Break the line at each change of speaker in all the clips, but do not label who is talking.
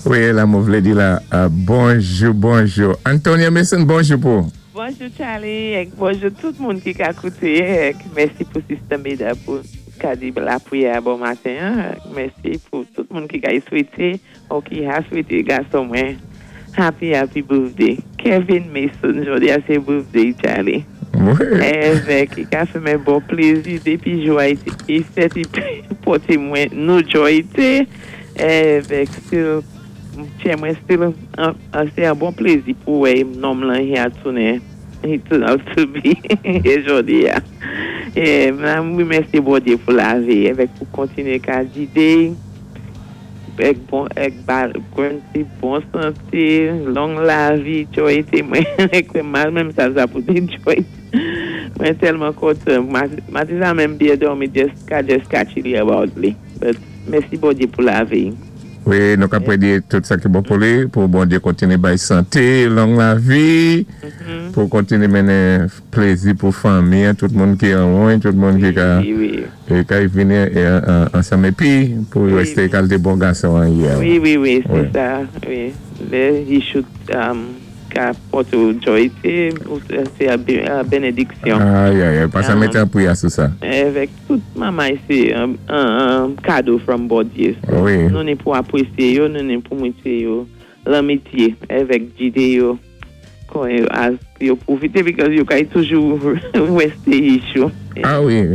Wi, la mwen vlé di la, bonjou, bonjou. Antonia Mason, bonjou pou.
Bonjou, Charlie, èk bonjou tout moun ki ka kouté, èk mèsi pou Sister Meda pou ka di lapwiyè bon maten an. Mèsi pou tout moun ki ka swété ou ki ha swété gason mwen happy, happy birthday. Kevin Mason, jòdi a sé birthday Charlie. Èvèk, i ka fè mwen bon plézi dépi jou a i fèt, i pòté mwen nou jòyté. Èvèk, still, tchè mwen still, sé an bon plézi pou wè nonm lan hi a tounen, he turn out to be jòdi a. É, m wimèsyé Bondyé pou lavi, èvèk pou kontiné ka gidé, èk bon, èk ba grant bon santé, long lavi, jòyté mwen, kwè mal menm sa sa pou di jòyté. Mwen tèlman kontan. Maten sa menm byen dòmi just ka just catch li about li. But mèsi Bondyé pou lavi.
Wi, nou ka pwé di tout sa ki bon pou li, pou Bondyé kontiné bay santé, long lavi, pou kontiné mennen plézi pou fanmi, tout moun ki anwen, tout moun ki ka ka vini ansanm épi pou résté kalité bon gason an yè.
Wi, sé sa. Wi. Lè he shoot ka pòté ou jòyté, sé an bénédiksyon.
Ay, ay, pa sa mété an pwiyè sou sa.
Avèk tout mamay sé an kado from Bondyé. Nou ni pou apwésyé yo, nou ni pou mwité yo lanmityé avèk gidé yo kon yo as yo pwofité because yo kay toujou résté issue.
Ah wi.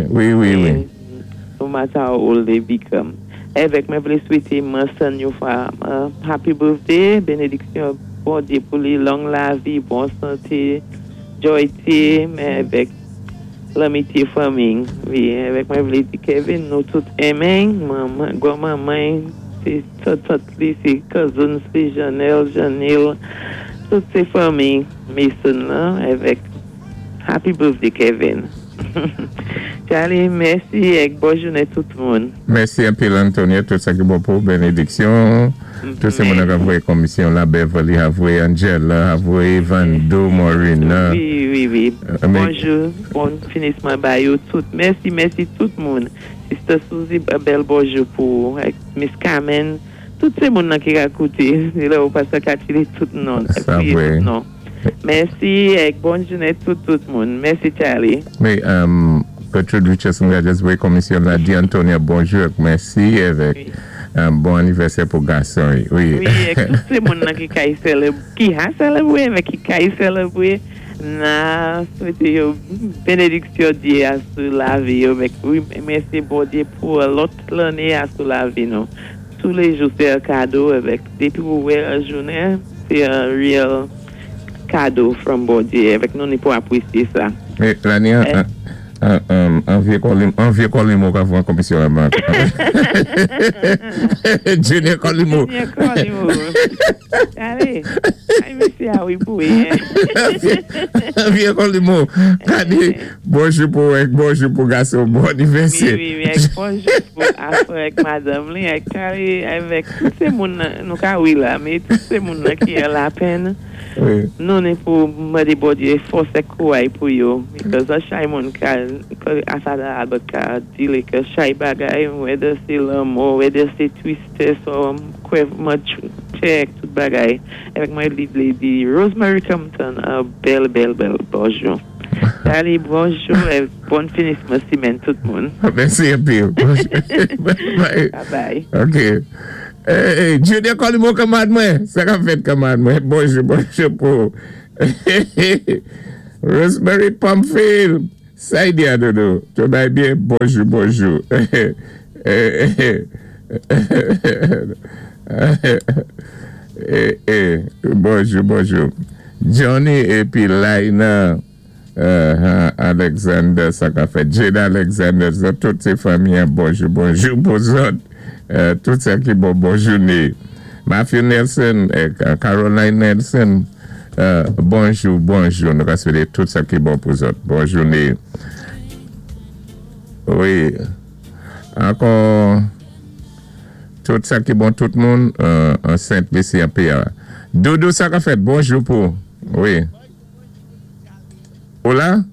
No matter how old they become. Èvèk mwen vlé swété Manson yon fwa happy birthday, bénédiksyon Bondyé pou li, long lavi, bon santé, jòyté, men èvèk lanmityé fanmi. Wi, èvèk mwen vlé di Kevin nou tout enmen, manman, gwan manman, sé tant li, sé cousins li, Janelle, Janil, tout sé fanmi Mason lan, èvèk happy birthday, Kevin. Charlie, mèsi èk bon jounen tout moun.
Mèsi anpil, Antonia, tout sa ki bon pou bénédiksyon. Tout sé moun ki voyé komisyon la, Beverly a voyé, Angela a voyé, Vando, Morina.
Wi. Bonjou, bon finisman ba yo tout. Mèsi, mèsi tout moun. Sister Suzy, bèl bonjou pou èk Miss Carmen. Tout sé moun nan ki ka kouté. Lè ou pa sa katile tout non.
Sa vwé.
Tout non. Mèsi èk bon jounen tout tout moun. Mèsi, Charlie.
Wi, Gertrude Richardson just voyé komisyon la di Antonia bonjou èk mèsi avèk bon anivèsè pou gason. Wi.
Wi, èk tout sé moun nan ki kay sèlèb, ki ha sèlèbwé, èvèk ki kay sèlèbwé, na swété yo bénédiksyon Dyé a sou lavi yo. Èvèk wi, mèsi Bondyé pou lòt lanné a sou lavi nou. Tou lé jou sé an kado èvèk dépi ou wè an jounen, sé an real kado from Bondyé èvèk nou ni pou apwésyé sa.
Wi, lanni an, an vyé kòlimo ka fwa komisyon la bank. Junior Colimo.
Junior Colimo. Ale, ay mèsi a wi pou wi.
An vyé kòlimo. Gade, bonjou pou èk, bonjou pou gason, bon anivèsè.
Wi, èk bonjou pou afè èk madanm li, èk Charlie, avèk tout sé moun nan, nou ka wi la, mé tout sé moun nan ki an lapèn. Nou ni pou mandé Bondyé fòs èk kouray pou yo. Because an chay moun ka, Asada Albert ka di ke chay bagay, whether sé lanmò, whether sé tristès, or kwè tchè tout bagay. Èvèk mwen li vlé di Rosemary Compton, an bèl, bèl, bèl bonjou. Charlie, bonjou é bon finisman simenn tout moun.
Mèsi anpil.
Bye bye.
Ok. Hey, Junior Colimo kanmarad mwen. Sa ka fèt kanmarad mwen. Bonjou, bonjou pou. Rosemary Pamphile. Sa y di a dodo. Tout bay byen. Bonjou, bonjou. Bonjou, bonjou. Johnny épi Laina Alexander, sa ka fèt. Jada Alexander, tout sé fanmi, bonjou, bonjou pou zòt. Tout sa ki bon, bon jounen. Matthew Nelson, Caroline Nelson, bonjou, bonjou. Nou ka swété tout sa ki bon pou zòt. Bon jounen. Wi. Ankò, tout sa ki bon tout moun, an Sent Lisi an PA. Doudou, sa ka fèt, bonjou pou. Wi. Ou la?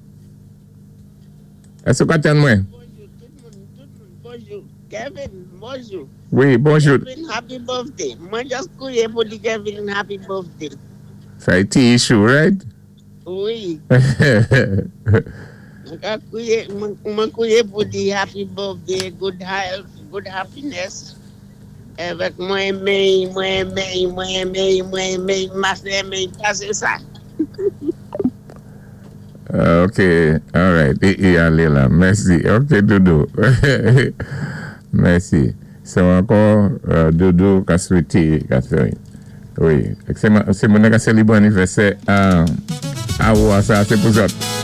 Èske ou ka tann mwen?
Bonjou tout moun, tout moun, bonjou. Kevin. Bonjou.
Wi, bonjou.
Kevin, happy birthday. Mwen just kwiyé pou di Kevin happy birthday.
Sa é ti issue, right?
Wi. Mwen ka kwiyé, mwen kwiyé pou di happy birthday, good health, good happiness. Avèk mwen renmen, mwen renmen, mwen renmen, mwen renmen, mas renmen, pasé sa.
Ok, alright. I alé la. Mèsi. Ok, Doudou. Mèsi. So ankò, Doudou ka swété Catherine. Wi. Sé moun ka sélébwé anivèsè a ou a sa, sé pou zòt.